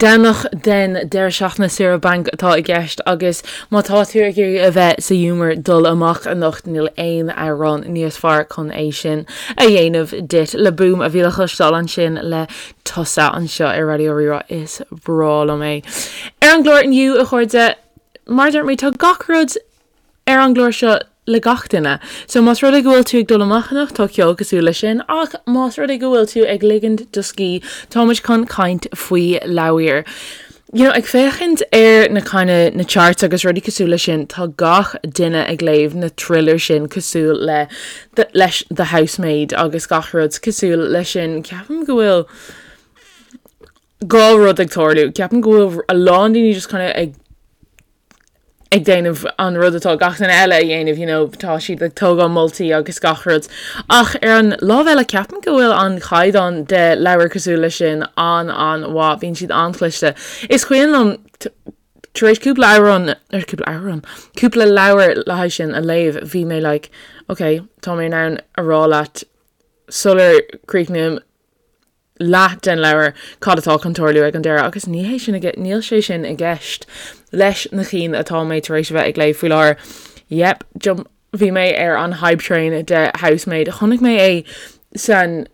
Domhnach den deireadh seachtaine saoire bainc atá i gceist agus má tá tú ag iarraidh a bheith sa ghiúmar dul amach anocht níl aon amhrán níos fearr chun é sin a dhéanamh duit. Le Boom a bhí le cloisteáil ansin le Tusa anseo ar Raidió Rí-Rá. Is breá liom é. Ar an gclár inniu a chairde, mar a dúirt mé tá gach rud ar an gclár seo le gach duine. So más rud é go bhfuil tú ag dul amach anocht tá ceol cosúil leis sin ach más rud é go bhfuil tú ag ligint do scíth tá muid chun caint faoi leabhair. You know, ag féachaint ar na kind of na charts agus rudaí cosúil leis sin tá gach duine ag léamh na thriller sin cosúil le the, leis The Housemaid agus gach rud cosúil leis sin. Ceapaim go bhfuil dhá rud ag tarlú. Ceapaim go bhfuil a lán daoine just kind of ag ag déanamh an rud atá gach duine eile a dhéanamh, you know, tá siad ag tógáil moltaí agus gach rud. Ach ar an lámh eile ceapaim go bhfuil an caighdeán de leabhar cosúil leis sin an-an-mhaith, bíonn siad an-chliste. Is cuimhin liom tar éis cúpla amhrán, ar cúpla amhrán, cúpla leabhar le haghaidh sin a léamh, bhí mé like, ok, tá mé in ann a rá leat sular críochnaím leath den leabhar cad atá chun tarlú ag an deireadh agus ní hé sin níl sé sin i gceist leis na cinn atá mé tar éis a bheith ag léamh faoi láthair. Yep, jump, bhí mé ar an hype train de Housemaid. Chonaic mé é san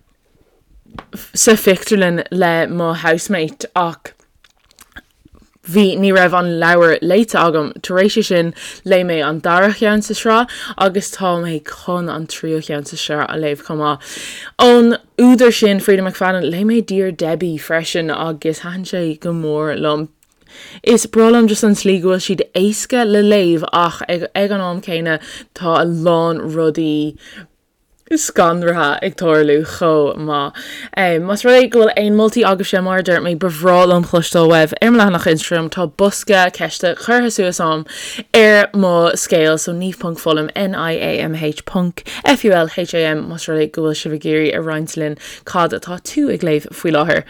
sa phictiúrlann le mo housemate ach Bhí, ní raibh an leabhar léite agam. Tar éis sin, léigh mé an dara cheann sa sraith agus tá mé chun an tríú cheann sa sraith a léamh chomh maith. Ón údar sin, Freida McFadden, léigh mé Dear Debbie freisin agus thaitin sé go mór liom. Is breá liom just an tslí go bhfuil siad éasca le léamh ach ag an am céanna tá a lán rudaí scanraithe ag tarlú chomh maith. Más rud é go bhfuil aon moltaí agaibhse, mar a dúirt mé, ba bhreá liom cloisteáil uaibh ar mo leathanach Instagram. Tá bosca ceiste curtha suas a'm ar mo scéal, so niamh ponc fulham, N-I-A-M-H ponc F-U-L-H-A-M, más rud é go bhfuil sibh ag iarraidh a roinnt linn cad atá tú ag léamh faoi láthair.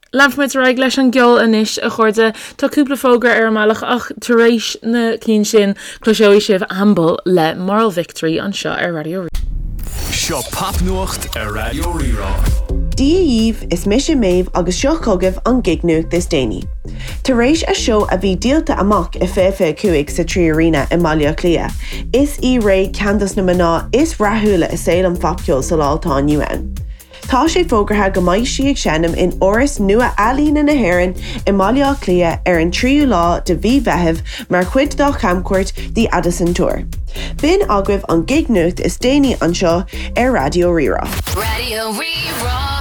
Leanfaimid ar aghaidh leis an gceol anois, a chairde. Tá cúpla fógra ar an mbealach ach tar éis na cinn sin, cloiseoidh sibh Amble le Moral Victory anseo ar Raidió Rí. Seo Popnuacht ar Raidió Rí-Rá. Dia dhaoibh, is mise Méabh agus seo chugaibh an gignuacht is déanaí. Tar éis a seó a bhí díolta amach i 2025 sa 3Arena i mBaile Átha Cliath, is í Raye ceann dos na mná is rathúla i saol an phopcheoil sa lá atá inniu ann. Tá sé fógartha go mbeidh sí ag seinm in Áras nua Ealaíne na hÉireann i mBaile Átha Cliath ar an tríú lá de mhí Mheithimh mar chuid dá chamchuairt The Addison Tour. B'in agaibh an gignuacht is déanaí anseo ar Raidió Rí-Rá. Raidió Rí-Rá.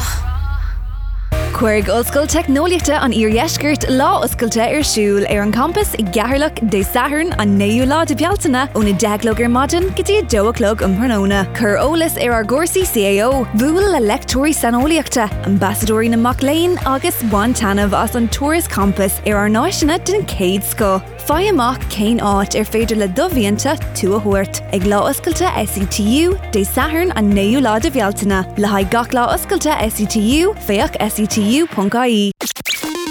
Cuirfidh Ollscoil Teicneolaíochta an Iardheiscirt lá oscailte ar siúl ar an champas i gCeatharlach Dé Sathairn an 9ú lá de Bhealtaine ón 10 a chlog ar maidin go dtí 2 a chlog um thráthnóna. Cuir eolas ar ár gcúrsaí CAO, buail le leicteoirí saineolaíochta, ambasadóirí na mac léinn agus bain taitneamh as an turas campais ar ár n-áiseanna den chéad scoth. Faigh amach cén áit ar féidir le do mhianta tú a thabhairt ag Lá Oscailte SETU, Dé Sathairn an 9ú lá de Bhealtaine. Le haghaidh gach lá oscailte SETU, féach setu.ie.